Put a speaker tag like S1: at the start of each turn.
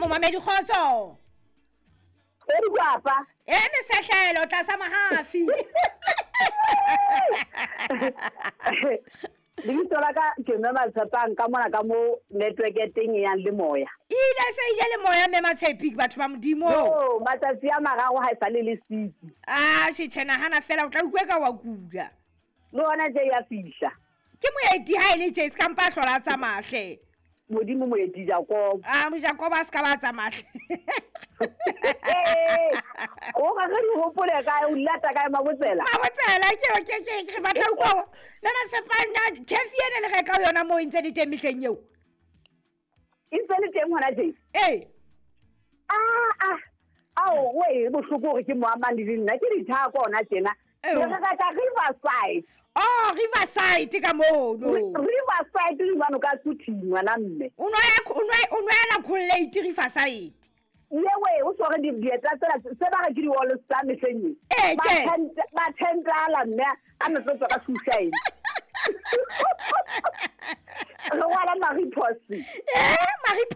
S1: Momamedi, kgotso.
S2: Papa.
S1: E mesehlelo tlasa mahafi.
S2: Lebitso la ka ke Mme Matshepang ka mona ka mo network ya teng e yang le moya.
S1: Ile se ile le moya, Mme Matshepi, batho ba Modimo.
S2: Yo, matsatsi a mararo ha e sale le sitsi.
S1: A tjhe, nahana fela o tla utlwe ka wa kula.
S2: Le hona tje ya fihla.
S1: Ke moeti ha e le tje, se ka mpa hlola tsa mahle.
S2: Modimo moeti Jakob.
S1: A mo Jakob a se ka ba tsa mahle.
S2: O ga re di hopole kae, o lata kae Mabotsela?
S1: Mabotsela ke batla utlwa Mme Matshepang, na kefi ene le reka yona moo e ntse le teng mehleng eo?
S2: E ntse le teng hona tje?
S1: Ee.
S2: Ah ah. Ao, we bohloko hore ke mo amang le nna ke dithako hona tjena.
S1: Eo.
S2: Re reka Riverside.
S1: Oh, Riverside ka mono.
S2: Riverside le jwalo ka Suthing ngwana mme.
S1: O nwela Colgate Riverside.
S2: Yewe o sware di dieta tsela se ba re ke di All Star mehleng e.
S1: Ee,
S2: Ba
S1: tje.
S2: ba tentala mme a ne tlo tswa ka suicide. Re rwala Mariposi.
S1: Eh, Mariposi.